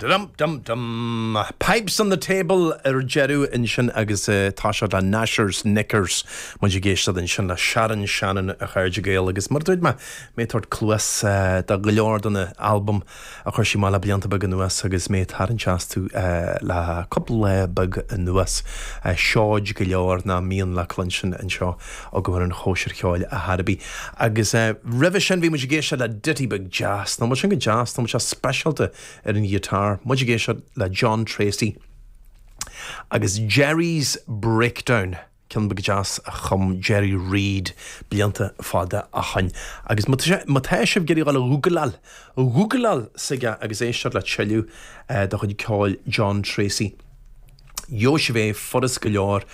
Dum dum dum. Pipes on the table ar deireadh ansin agus tá sé le Gnashers Knickers. Muid ag éisteacht ansin le Sharon Shannon a chairde Gael agus mar a dúirt mé, mé ag tabhairt cluas do go leor de na albaim a chuir sí amach le blianta beaga anuas agus mé ag tarraingt astu le cúpla lá beag anuas. Seoid go leor nach mbíonn le cluinstin anseo agam ar an chóisir cheoil ar chor ar bith. Agus roimhe sin bhí muid ag éisteacht le ditty beag deas, nach bhfuil sin go deas, nach bhfuil sé speisialta ar an ghiotár. Muid ag éisteacht le John Tracy agus Jerry's Breakdown, ceann beag deas a chum Jerry Reed blianta fada ó shoin. Agus má tá sibh ag iarraidh dul a ghúgláil, gúgláil s'aige agus éisteacht le tuilleadh de chuid ceoil John Tracy, gheobhaidh sibh é furast go leor,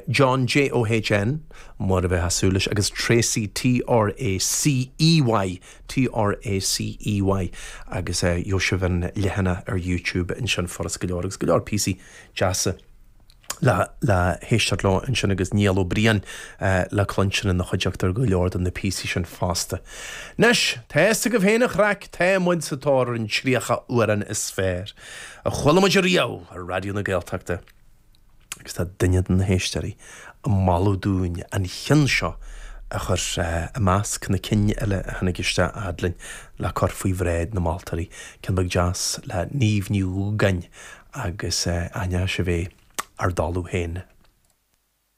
John, J-O-H-N, mar a bheifeá ag súil leis, agus Tracy, T-R-A-C-E-Y, T-R-A-C-E-Y, agus gheobhaidh sibh an leathanach ar YouTube ansin furast go leor, agus go leor píosaí deasa le le héisteacht leo ansin agus Niall Ó Briain le cluinstin ina chuideachta ar go leor de na píosaí sin fosta. Anois, tá fhios agaibh féin an chraic, tá muid sa tóir ar an 30 amhrán is fearr a chuala muid ariamh ar Raidió na Gaeltachta. Agus tá duine de na héisteoirí ag moladh dúinn an cheann seo a chur i measc na cinn eile a tháinig isteach fhad linn le cur faoi bhráid na moltóirí. Ceann beag deas le Niamh Ní Dhúgáin agus aithneoidh sibh é ár dtalamh féin.